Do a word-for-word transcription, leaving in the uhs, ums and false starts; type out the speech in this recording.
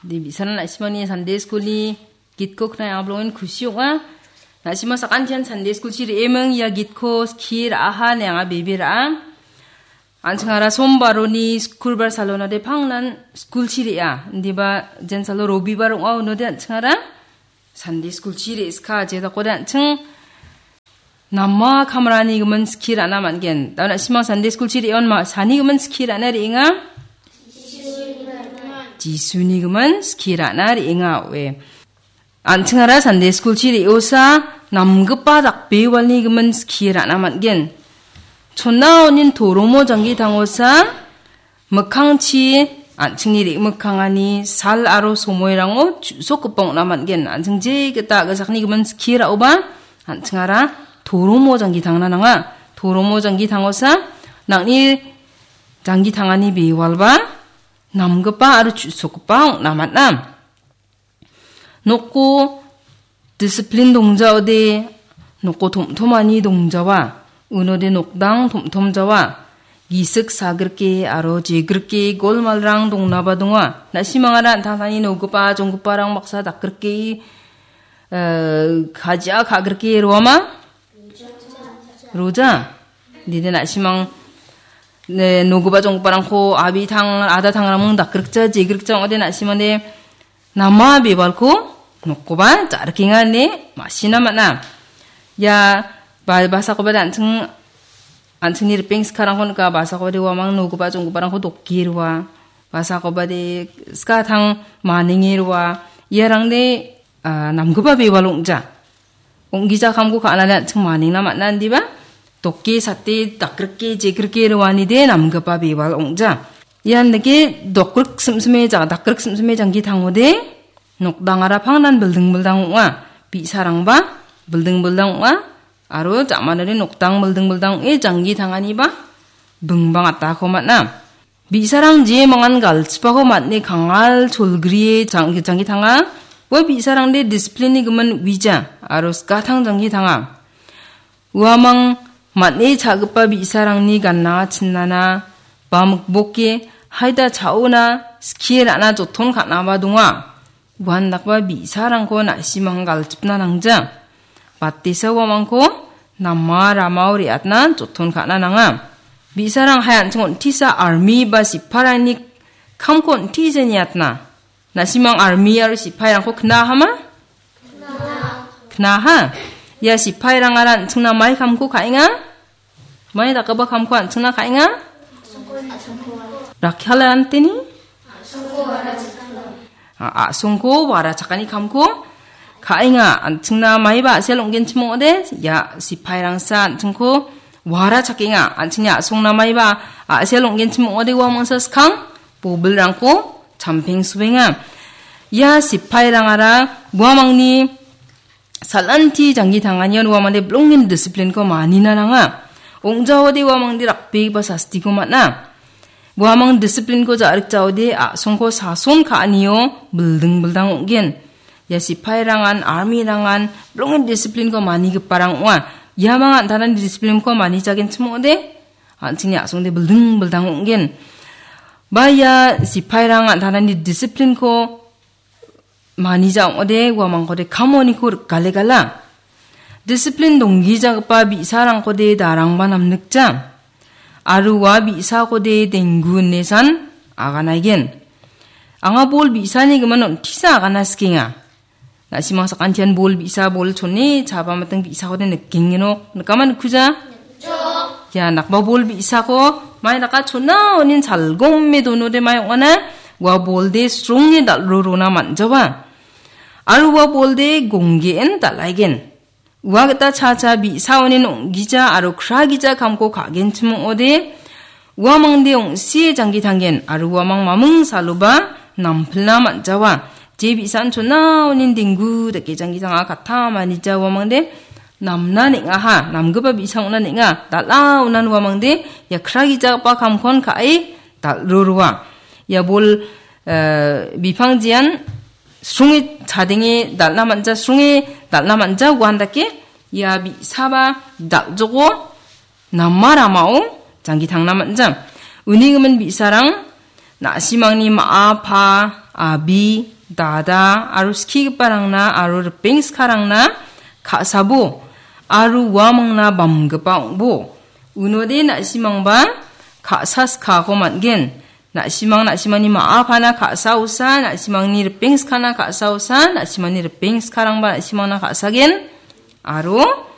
De bi·sarang na·simangni Sunday school-ni gitko knai anga bilongen kusi ong·a. Na·sima sakantian Sunday school-chi re·eming ia gitko skie ra·aha ine anga bebe ra·a. An·chingara sombaroni skulbar salona de pangnan school-chi re·a. Indiba jensalo robibar ong·a unode an·chingara Sunday school-chi re·ska jedakode an·ching nama kamrani gimin skie ra·na man·gen. Da na·simang Sunday school-chi re·on ma sani gimin skie ra·na re·enga? Jisuni gimin skie ra·na re·enga oe. An·chingara Sunday school-chi re·osa namgipa dakbewalni gimin skie ra·na man·gen. Chona onin toromo janggi tangosa mikkangchi an·chingni re·mikkangani sal aro somoirango chu·sokgipa ong·na man·gen. An·ching jegita a·gasakni gimin skie ra·oba an·chingara toromo janggi tangna nanga. Toromo janggi tangosa nang·ni janggi tangani bewalba namgipa aro chu·sokgipa ong·na man·a. Noko disiplin dongjaode, noko tom·tomani dongjawa, unode nokdang tom·tomjawa, gisik sagrike aro jegrike golmalrang dongnaba donga. Na·simangara an·tangtangni nogipa jonggiparang baksa dakgrike, eh, kajia ka·grike roama? Roja. Dide na·simang, ne, nogipa jonggiparangko abitang, adatangraming dakgrikja, jegrikja ong·ode na·simangde nama bewalko nokkoba ja·rikenga ine ma·sina man·a. Ia ba-, basakoba de an·ching, an·chingni ripeng skarangko nika, basakoba de uamang nogipa jonggiparangko dokke roa, basakoba de skatang manenge roa, iarangde, ah, namgipa bewal ong·ja. Ong·gija kamko ka·anade an·ching manengna man·a indiba? Dokke sate dakrike jekrike roanide namgipa bewal ong·ja. Ian dake dokrik simsime ja-, dakrik simsime janggi tangode nokdangara pangnan bilding bildang ong·a. Bi·sarangba bilding bildang ong·a. Aro ja·manode nokdang bilding bildang ong·e janggi tanganiba bingbang atako man·a. Bi·sarang jemangan galchipako man·e kangal cholgrie jang-, janggi tanga. Ua bi·sarangde disiplin-ni gimin uija aro skatang janggi tanga. Uamang man·e cha·gipa bi·sarangni gana chinana ba mikboke haida cha·ona skie ra·na joton ka·naba donga. Uandakba bi·sarangko na·simang galchipna nangja. Batesa uamangko nama ramao re·atna joton ka·na nanga. Bi·sarang hai an·ching on·tisa army ba sipairangni kamko on·tisa niatna. Na·simang army aro sipairangko knahama? Knaha. Ia sipairangara an·chingna mai kamko ka·enga? Mai dakgipa kamko an·chingna ka·enga? Rakkiala anteni? A-, a·songko wara chakani kamko ka·enga. An·chingna maiba a·sel ong·genchim ong·ode, ia sipairangsa an·chingko wara chakenga. An·chingni a·songna maiba a·sel ong·genchim ong·ode, uamangsa skang bobilrangko champeng suenga. Ia sipairangara uamangni sal·anti janggi tanganion uamangde bilongen disiplinko manina nanga. Ong·jaode uamangde rakbegipa sastiko man·a. Uamang disiplinko ja·rikjaode a·songko sason ka·anio bilding bildang ong·gen. Ia sipairangan, armirangan bilongen disiplinko manigiparang ong·a. Iamang an·tangtangni disiplinko manijagenchim ong·ode, an·chingni a·songde bilding bildang ong·gen. Ba ia sipairang an·tangtangni disiplinko manija ong·ode, uamangkode kamoniko rikgalegala. Disiplin donggijagipa bi·sarangkode darangba namnikja. Aro ua bi·sakode denggu inesan aganaigen. Anga bol bi·sani gimin on·tisa agana sikenga. Na·simang sakantian bol bi·sa, bol chone, chaba miting bi·sakode nikengenok. Nikama nikkuja? Ia nakba bol bi·sako mai naka chona onin salgome donode mai ong·ana, ua bolde sronge dal·rorona man·jawa. Aro ua bolde gonggen dal·aigen. Ua gita cha cha bi·sa onin ong·gija aro kra gija kamko ka·genchim ong·ode, uamangde ong·sie janggi tanggen aro uamang maming saloba nampilna man·jawa. Je bi·san chona onin denggu dake janggi tanga katta manija uamangde namna neng·aha, namgipa bi·sa ong·na neng·a, dal·a onan uamangde ia kra gijagipa kamkon ka·e dal·roroa. Ia bol, eh, bipang jean sronge chadenge dal·na man·ja, sronge dal·na man·ja uan dake ia bi·saba dal·joko nama ramao janggi tangna man·ja. Uni gimin bi·sarang na·simangni ma·a, pa, abi, dada aro skigiparangna aro ripeng skarangna ka·sabo aro uamangna bamgipa ong·bo. Unode na·simangba ka·sa skako man·gen. Na·simang na·simangni ma·a pana ka·sa osa, na·simangni ripeng skana ka·sa osa, na·simangni ripeng skarangba na·simangna ka·sagen. Aro